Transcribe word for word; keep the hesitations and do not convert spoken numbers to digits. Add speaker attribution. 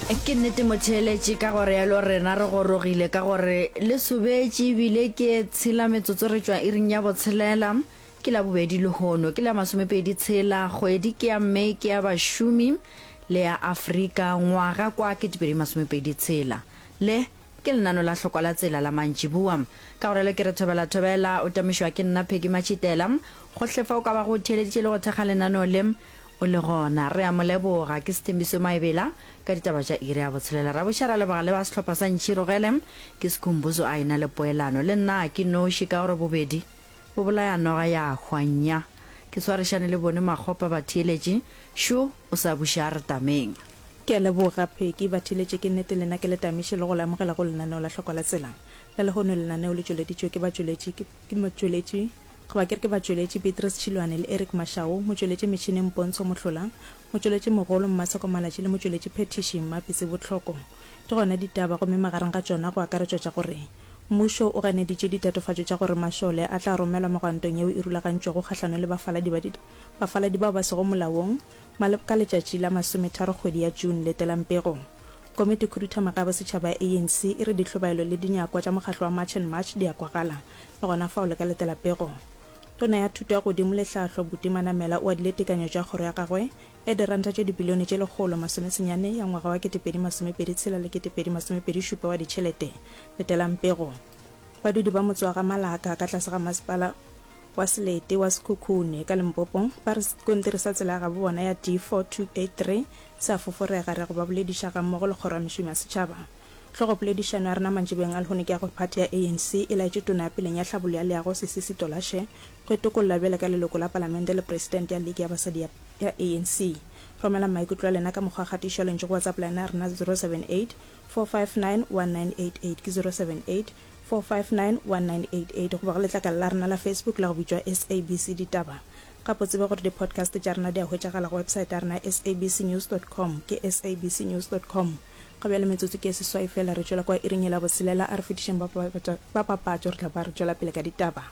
Speaker 1: Ke nnete motheeletši ka gore yalo rena re gorogile ka gore le sobetše ebile ke tshela metsotso re tšwa iring ya botshelela ke la bobedi lehono ke la masomepedi tshela kgwedi ke ya May ke ya bašomi le ya Afrika ngwaga kwa ketepedi masomepedi tshela le ke lenano la hlokwa la tsela la mantšiboa ka gore le ke re thobela thobela o tamišwa ke nna Peggy Matšhitela gohle fa o ka ba go theeleditše le go thekga lenano le o le gona re a mo leboga ke Sethembiso Maebela ka ditaba tša iri ya botshelela ra boša ra leboga le ba sehlopha sa Ntšhirogele ke Sekhumbuzo a ena le poelano le nna ke noši ka gore bobedi bo bolaya noga ya hwanya ke swarišane le bone makgopa batheeletši šo o sa buša re tameng.
Speaker 2: Ke a leboga Peggy. Batheeletši ke nnete lena ke le tamiše le go le amogela go lenaneo la Hlokwa la Tsela la lehono. Lenaneo le tšweleditšwe ke batšweletši ke motšweletši goba ke re ke batšweletši Beatrice Tšhilwane le Eric Mashau, motšweletši metšhineng Pontsho Mohlola, motšweletši mogolo Mmatsheko Malatši le motšweletši phethiši Mmapitsi Botlhoko. Di gona ditaba gomme magareng ga tšona go akaretšwa tša gore mmušo o ganeditše ditatofatšo tša gore mašole a tla romelwa megwantong yeo e rulagantšwego kgahlanong le bafaladi ba bafaladi bao ba sego molaong ka letšatši la masometharo kgwedi ya June. Letelang pego. Komiti khuduthamaga ya bosetšhaba ya A N C e re dihlobaelo le dinyakwa tša mokgahlo wa March and March di a kwagala. Le gona fao le ka letela pego. Tona ya Thuto ya Godimo le Tlhahlo Buti Manamela o adile tekanyo tša kgoro ya gagwe ya diranta tše dibilione tše lekgolo masomesenyane ya ngwaga wa ketepedi masomepedi tshela le ketepedi masomepedi šupa wa ditšhelete. Letelang pego. Badudi ba motse wa ga Malaka ka tlase ga masepala wa Selete wa Sekhukhune ka Limpopo ba re sekontiri sa tsela ya gabo bona ya D four two eight three se a foforega. Re go ba bolediša gammogo le kgoro ya mešomo ya setšhaba. Hlogopoledišano ya rena mantšiboeng a lehono ke ya gore phathi ya A N C e laetše tona ya peleng ya tlhabollo ya leago Sisisi Tolashe go itokolla bjale ka leloko la palamente le presidente ya liki ya basadi ya ya A N C. Romelang maikutlo a lena ka mokgwa wa kgatišo ya lentšu go WhatsApp line ya rena zero seven eight four five nine one nine eight eight ke zero seven eight four five nine one nine eight eight goba go letlakala la rena la Facebook la go bitšwa S A B C Ditaba. Gape o tsebe gore di-podcast tša rena di a hwetšagala go website ya rena ya S A B C news dot com ke S A B C news dot com. Ga bjale metsotso ke e seswai fela re tšwela kwa iring yela botshelela, a re fetišeng ba papatšo re tla ba re tšwela pele ka ditaba.